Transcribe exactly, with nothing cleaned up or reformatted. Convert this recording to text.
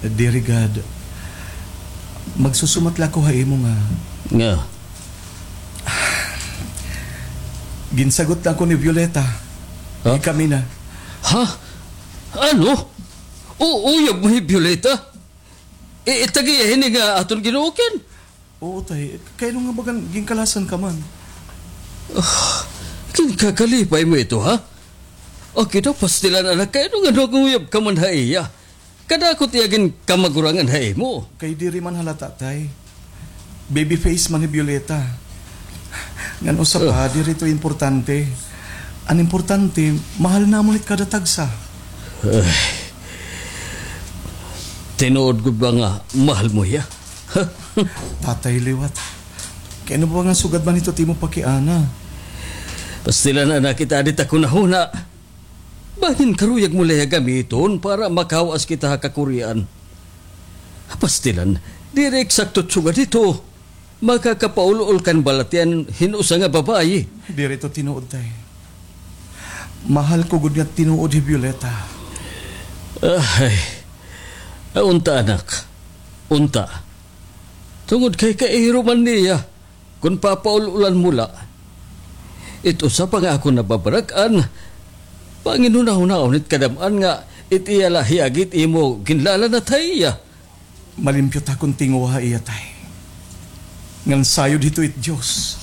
Diri gad. Magsusumat la ako ha imo nga. Nga? Ginsagot na ako ni Violeta. Ha? Kami na. Ha? Ano? U-, uyab mo hi Violeta? I-, itag-iya hini nga aton ginuukan? Oo, tay. Kay ano nga bagan ginkalasan ka man? Ah, ginkakalipay mo ito, ha? Aki daw, pastilan, anak, kay ano nga nanguyab ka man ha iya? Kadako it iya ginkamagurangan ha imo. Kay diri man halata, tay. Baby face man hi Violeta. Ngan usa pa, diri ito importante. An importante, mahal namon it kada tagsa. Ay. Tinuod gud ba nga mahal mo hiya? Tatay liwat. Kay ano ba nga sugad man ito it imo pakiana? Pastilan, anak, kita adit ako nahuna. Bangin karuyag mo la hiya gamiton para makawas kita ha kakurian. Pastilan, diri eksakto it sugad ito. Makakapaul-ol kan balatian hin usa nga babayi. Diri ito tinuod, tay. Mahal ko gud nga tinuod hi Violeta. Ay. Ah, unta, anak. Unta. Tungod kay kairo man niya. Kon papaul-ulan mo la, it usa pa nga akon nababarag-an, panginhunahunahon it kadam-an nga it iya la hiyagi it imo ginlalanat ha iya. Malimpyo ta kon tinguha ha iya, tay. Ngan sayod hito it Dios.